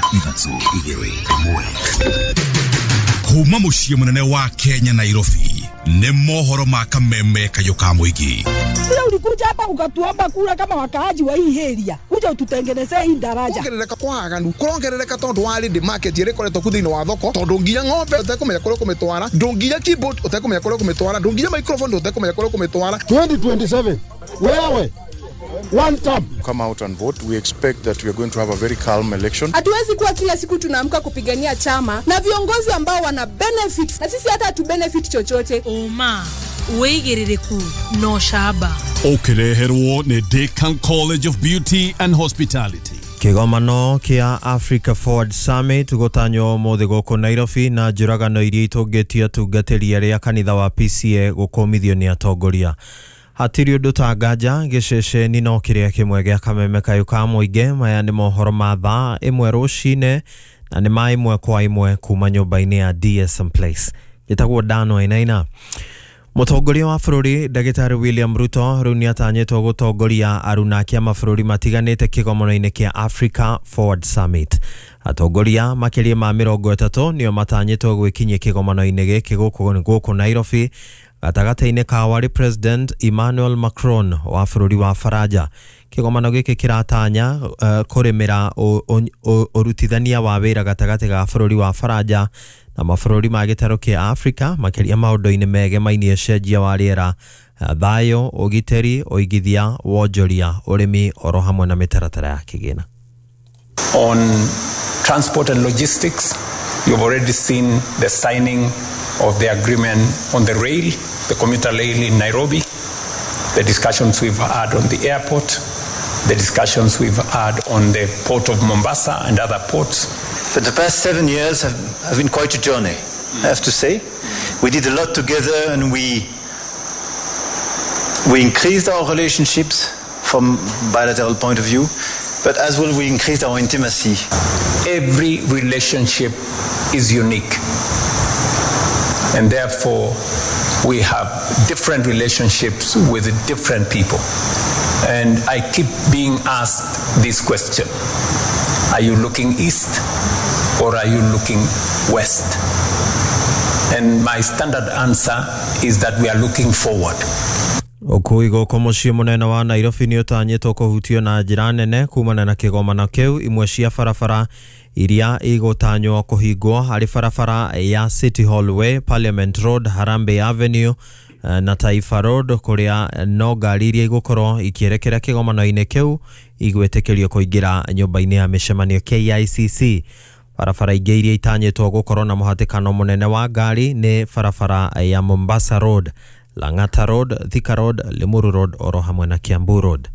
3 2 1. Kuma muciĩ mũnene wa Kenya Nairobi nĩ mohoro ma kameme kayũ ka mũingĩ. Sio ulikuja hapa ukatuomba kura kama wakaaji wa hii area, kuja ututengenezee hii daraja. Kuongerereka kwa aganu kurongerereka tondu wa ready market ĩrĩa ĩkoretwo ku thĩinĩ wa thoko, tondu nginya ng'ombe ũtekũmenya kũrĩa ũkũmĩtwara, ndũnginya keyboard ũtekũmenya kũrĩa ũkũmĩtwara, ndũnginya microphone ũtekũmenya kũrĩa ũkũmĩtwara. 2027 wewe one term. Come out and vote. We expect that we are going to have a very calm election. Hatuwezi kuwa kila siku tunaamka kupigania chama na viongozi ambao wana benefit na sisi hata hatu benefit chochote. Oma wĩigĩrĩrĩku no camba. Ũkĩreherwo nĩ Decan College of Beauty and Hospitality. Kĩgomano kĩa Africa Forward Summit gũtanywo ũmũthĩ gũkũ Nairobi na njũragano iria itũngĩtio atungatĩri arĩa kanitha wa PCA gũkũmithio nĩ atongoria. Hatirĩ ũndũ ta nganja gĩceceni no kĩrĩa kĩmwe gĩa kameme kayũ ka mũingĩ. Maya nĩ mohoro ma thaa 1 rũcinĩ na nĩ ma 1 kwa 1 kuma nyũmba-inĩ ya DSM Place. Njĩtagwo Dan Wainaina. Mũtongoria wa bũrũri Ndagĩtarĩ William Ruto rĩu nĩatanyĩtwo gũtongoria aruna a mabũrũri matiganĩte kĩgomano-inĩ kĩa Africa Forward Summit. Atongoria makĩria ma 30 nĩo matanyĩtwo gwĩkinyia kĩgomano-inĩ gĩkĩ gũkũ Nairobi, gatagatĩ-inĩ ka warĩ President Emmanuel Macron wa bũrũri wa Faranja. Kĩgomano gĩkĩ kĩratanya kũrĩmĩra ũrutithania wa wĩra gatagatĩ ga bũrũri wa Faranja na mabũrũri ma gĩtarũ kĩa Afrika, makĩria maũndũ-inĩ megemainie ũcenjia wa rĩera, thayũ, ũgitĩri, ũigithia, wonjoria, ũrĩmi oro hamwe na mĩtaratara ya kĩgĩna. On transport and logistics, you've already seen the signing of the agreement on the rail, the commuter rail in Nairobi, the discussions we've had on the airport, the discussions we've had on the port of Mombasa and other ports. But the past 7 years have been quite a journey, I have to say. We did a lot together and we increased our relationships from bilateral point of view, but as well we increased our intimacy. Every relationship is unique, and therefore we have different relationships with different people. And I keep being asked this question: are you looking east or are you looking west? And my standard answer is that we are looking forward. Ũkui gũkũ mũciĩ mũnene wa Nairobi nĩ ũtanyĩtwo kũhutio na njĩra nene kumana na kĩgomano kĩu. Imwe cia barabara iria igũtanywo kũhingwo harĩ barabara ya City Hall Way, Parliament Road, Harambee Avenue na Taifa Road, kũrĩa no ngari iria igũkorwo ikĩerekera kĩgomano-inĩ kĩu igwĩtĩkĩrio kũingĩra nyũmba-inĩ ya mĩcemanio KICC. Barabara ingĩ iria itanyĩtwo gũkorwo na mũhatĩkano mũnene wa ngari nĩ barabara ya Mombasa Road, Lang'ata Road, Thika Road, Limuru Road oro hamwe na Kiambu Road.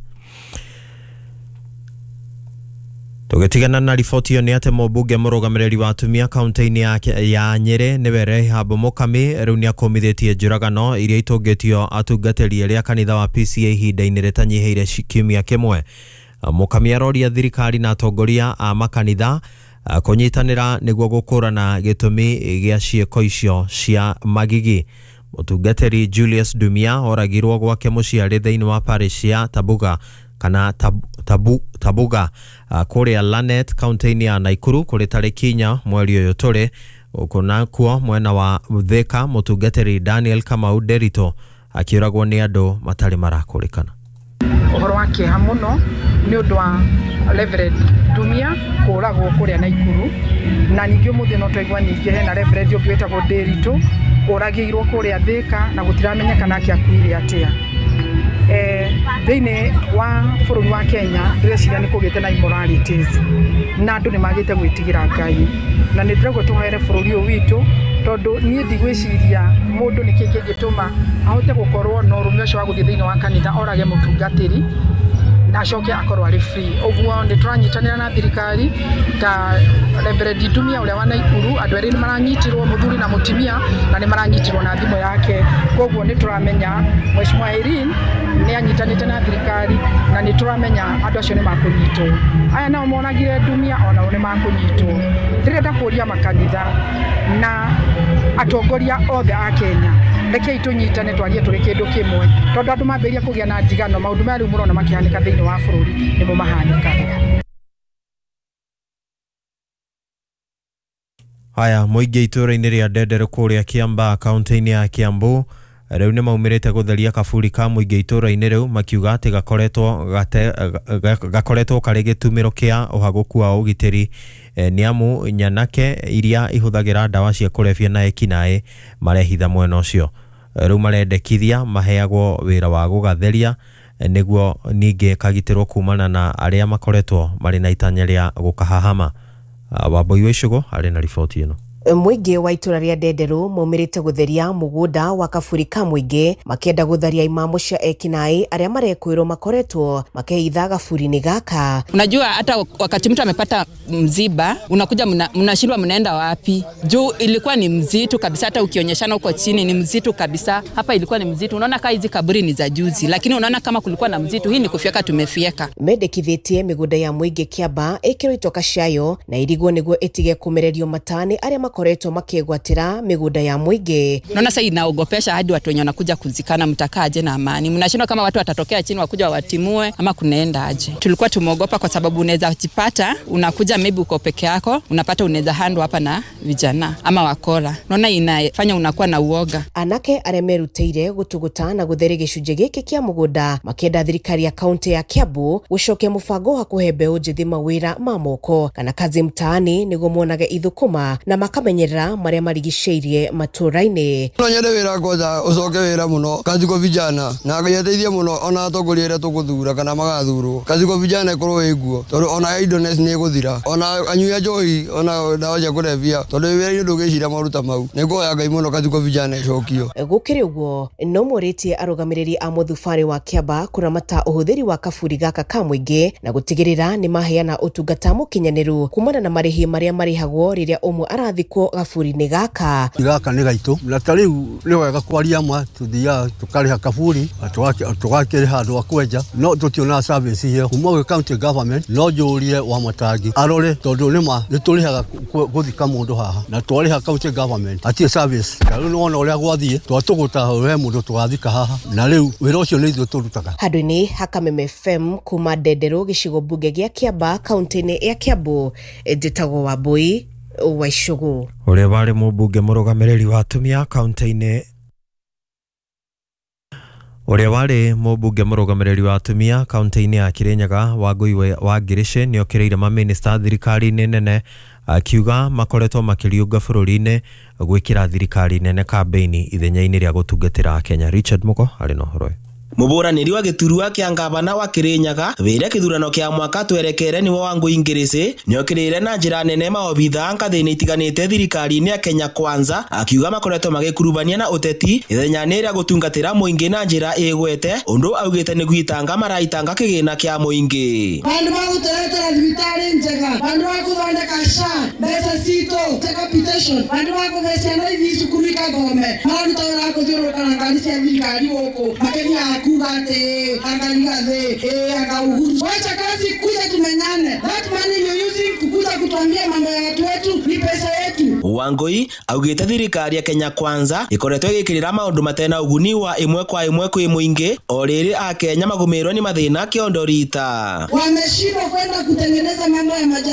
Tũgĩtigana na riboti ĩyo nĩ atĩ mũmbunge mũrũgamĩrĩri wa atumia kaunti-inĩ ya Nyĩrĩ nĩwe Rehab Mukami rĩu nĩakũmithĩtie njũragano iria itũngĩtio atungatĩri arĩa kanitha wa PCA ihinda-inĩ rĩtanyihĩire kiumia kĩmwe. Mukami aroria thirikari na atongoria a makanitha kũnyitanĩra nĩguo gũkũrana gĩtũmi gĩa ciĩko icio cia magigi. Mũtungatĩri Julius Dumia oragirwo gwake mũciĩ arĩ thĩinĩ wa parish ya Tabuga kana Tabuga kũrĩa Lanet kaunti-inĩ ya Nakuru kũrĩ tarĩki 4 mweri ũyũ tũrĩ. Gũkũ nakuo mwena wa Thika mũtungatĩri Daniel Kamau Nderito akĩũragwo nĩ andũ matarĩ marakũrĩkana. Ũhoro wa kĩeha mũno nĩ ũndũ wa Reverend Dumia kũragwo kũrĩa Nakuru, na ningĩ ũmũthĩ no twaigua ningĩ hena Reverend ũngĩ wĩtagwo Nderito ũragĩirwo kũrĩa Thika na gũtiramenyekana akĩakuire atĩa. Thĩinĩ wa bũrũri wa Kenya ndĩreciria nĩ kũgĩte na immoralities na andũ nĩ magĩte gwĩtigĩra Ngai, na nĩ ndĩrauga tũhoere bũrũri ũyũ witũ, tondũ niĩ ndigwĩciria mũndũ nĩkĩ kĩngĩtũma ahote gũkorwo na ũrũme ũcio wa gũthiĩ thĩinĩ wa kanitha orage mũtungatĩri na acoke akorwo arĩ free. Ũguo nĩ tũranyitanĩra na thirikari ta Reverend Dumia ũrĩa wa Nakuru, andũ erĩ nĩ maranyitirwo, mũthuri na mũtumia, na nĩ maranyitirwo na thimũ yake. Koguo nĩ tũramenya Mheshimiwa Irene nĩ anyitanĩte na thirikari na nĩ tũramenya andũ acio nĩ makũnyitwo. Aya nao monagire Dumia onao nĩ makũnyitwo. Ndĩrenda kũria makanitha na atongoria othe a Kenya, rekei tũnyitane twarie tũrĩ kĩndũ kĩmwe, tondũ andũ mambĩrĩria kũgĩa na ndigano, maũndũ maya rĩu mũrona makĩhanĩka thĩinĩ wa bũrũri nĩmo mahanĩkaga. Haya, mũingĩ itũũra-inĩ rĩa Ndenderũ kũrĩa Kiambaa kaunti-inĩ ya Kiambu rĩu nĩ maumĩrĩte gũtheria kaburi ka mũingĩ itũũra-inĩ rĩu, makiuga atĩ gakoretwo karĩ gĩtumĩro kĩa ũhagũku wa ũgitĩri, nĩ amu nyanake iria ihũthagĩra ndawa cia kũrebia na ekinaĩ marehitha mwena ũcio. Rĩu marendekithia maheagwo wĩra wa gũgatheria nĩguo ningĩ kagitĩrwo kumana na arĩa makoretwo marĩ na itanya rĩa gũkahahama. Wambui wa Icũgũ arĩ na riboti ĩno. Mũingĩ wa itũra rĩa Ndenderũ maumĩrĩte gũtheria mũgũnda wa kaburi ka mũingĩ, makĩenda gũtharia imamo cia ekinaĩ arĩa marekwĩrwo makoretwo makĩhitha gaburi-inĩ gaka. Unajua hata wakati mtu amepata mziba unakuja mnashindwa mnaenda wapi, juu ilikuwa ni mzito kabisa, hata ukionyeshana huko chini ni mzito kabisa. Hapa ilikuwa ni mzito, unaona kama hizi kaburi ni za juzi, lakini unaona kama kulikuwa na mzito. Hii ni kufyeka, tumefyeka. Mendekithĩtie mĩgũnda ya mũingĩ Kĩamba ĩkĩrwo itoka ciayo na irigwo nĩguo ĩtige kũmererio matani arĩa makoretwo makĩgwatĩra mĩgũnda ya mũingĩ. Naona sasa inaogopesha hadi watu wenye wanakuja kuzikana, mtakaaje na amani? Mnashindwa kama watu watatokea chini wakuja watimue ama kunaenda aje? Tulikuwa tumeogopa kwa sababu unaweza jipata unakuja maybe uko peke yako, unapata unaweza handwa hapa na vijana ama wakora. Naona inafanya unakuwa na uoga. Anake arĩa merutĩire gũtũgũta na gũtheria gĩcunjĩ gĩkĩ kĩa mũgũnda makĩenda thirikari ya kaunti ya Kiambu gũcokia mũbango wa kũhe mbeũ njĩthĩ mawĩra ma moko kana kazi mtaani nĩguo monage ithũkũma na makamenyerera marĩa marigicĩirie matũũra-inĩ. No nyende wĩra kwanza ũcoke wĩra mũno kazi kwa vijana na ngeteithie mũno ona atongoria arĩa tũgũthura kana magathurwo, kazi kwa vijana ĩkorwo ĩguo tondũ ona idleness nĩ ĩgũthira, ona anyui a njohi ona ndawa cia kũrebia, tondũ wĩra-inĩ ndũngĩciria maruta mau. Nĩ ngũhoya Ngai mũno kazi kwa vijana ĩcokio. Gũkĩrĩ ũguo no morĩtie arũgamĩrĩri a mũthubarĩ wa Kĩamba kũramata ũhũthĩri wa kaburi gaka ka mũingĩ na gũtigĩrĩra nĩ maheana ũtungata mũkinyanĩru kumana na marĩhi marĩa marĩhagwo rĩrĩa ũmwe arathikwo gaburi-inĩ gaka. Gaka nĩ gaitũ na ta rĩu nĩ wega kwaria ma, tũthiaga tũkarĩha kaburi tũgakĩrĩha andũ a kwenja, no tũtionaga service ĩyo kuma gwĩ county government. No njũrie wa Matangi arore tondũ nĩma nĩ tũrĩhaga gũthika mũndũ haha na twarĩha county government atirĩ service. Ta rĩu nĩwona ũrĩa gwathiĩ, twatũgũta he mũndũ tũgathika haha na rĩu wĩra ũcio nĩ ithuĩ tũrutaga. Handũ-inĩ ha Kameme FM kuma Ndenderũ gĩcigo mbunge gĩa Kĩamba kaunti-inĩ ya Kiambu, njĩtagwo Wambui wa Icũgũ. Ũrĩa warĩ mũmbunge mũrũgamĩrĩri wa atumia kaunti-inĩ Ũrĩa warĩ mũmbunge mũrũgamĩrĩri wa atumia kaunti-inĩ ya Kirinyaga Wangui wa Ngirici nĩ okĩrĩire mamĩnĩsta thirikari-inĩ nene akiuga makoretwo makĩriũnga bũrũri-inĩ gwĩkĩra thirikari nene kambĩini ithenya-inĩ rĩa gũtungatĩra Kenya. Richard Mugo arĩ na ũhoro ũyũ. Mũbũranĩri wa gĩturwa kĩa ngavana wa Kirinyaga wĩra kĩthurano kĩa mwaka twerekere nĩwe Wangui Ngirici nĩokĩrĩire na njĩra nene maobithaa ngathĩ-inĩ itiganĩte thirikari-inĩ ya Kenya Kwanza akiuga makoretwo magĩkurubania na ũteti ithenya-inĩ rĩa gũtungatĩra mũingĩ na njĩra ĩgwete ũndũ augĩte nĩ gwitanga maraitanga kĩgĩna kĩa mũingĩ. Bandu bagũtũretera thibitarĩ njega, bandu bagũthondeka SHA mbeca citũ capitation, bandu bakũhe ciana ithi cukuru ikathome, mararuta wĩra wa kũthiũrũrũka na ngari cia thirikari gũkũ makĩthiaga kuga ati angaligathi anga Uhuru. Wacha kazi kuja tumenyane. That money you're using kukuja kutuambia mambo ya watu wetu ni pesa yetu. Wangui augite thirikari ya Kenya Kwanza ikoretwo igikirira maundu matena uguni wa imwe kwa imwe kwi muingi o riri a Kenya magumirwo ni mathina kiondo rita. Wameshindwa kwenda kutengeneza mambo ya majani.